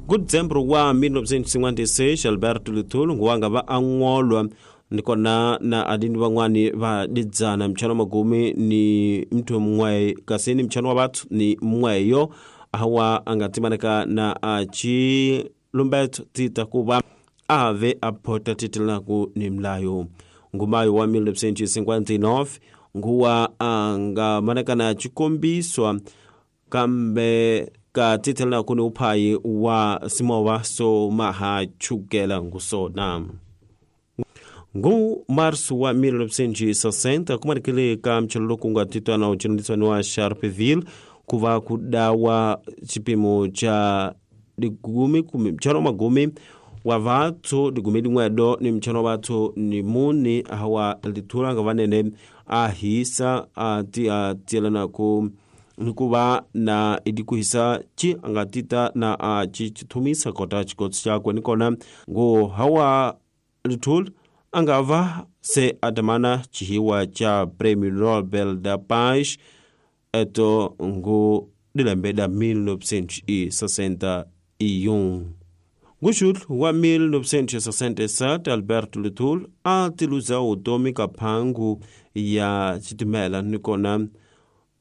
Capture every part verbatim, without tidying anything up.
Ku December wa mil novecentos e cinquenta e seis Alberto Lithulu nguwa nga va angolwa nikona na adini van'wani va didzana mchano magumi ni mtu mwe kasi ni mchano wa bathu ni mweyo hawa angatimaneka na achi lumbeto tita kuba ave aphota titilaku ni mlayo. Ngumayo wa mil novecentos e cinquenta e nove nguwa angamaneka na chikombiswa kambe ka titilaku ni uphayi wa simowa so maha chukela ngusona. Ngu março wa mil novecentos e sessenta kumanikile ka mchelo kunga titwana uchinudiswa wa Sharpeville kuva kudawa chipimo cha digumi kumi mchano magumi wa vathu digumi lingwedo ni mchano vathu ni muni hawa lithula nga vanene ahisa ati atielana ku nikuva na idikuhisa chi angatita na achi chithumisa kota chikotsi chakwe nikona ngu hawa lithula angava se atamana chihiwa cha Prêmio Nobel da Paz eto ngu dilembeda mil novecentos e sessenta e um. Nguxul wa mil novecentos e sessenta e sete Alberto Lithulu a tiluza utomi ka phangu ya xitimela nikona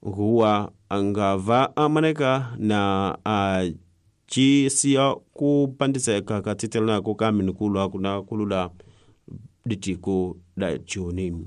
nguwa angava amaneka na a chisiya ku pandiseka ka titelanako ka minikulwa kuna kulula ditiko da Juni.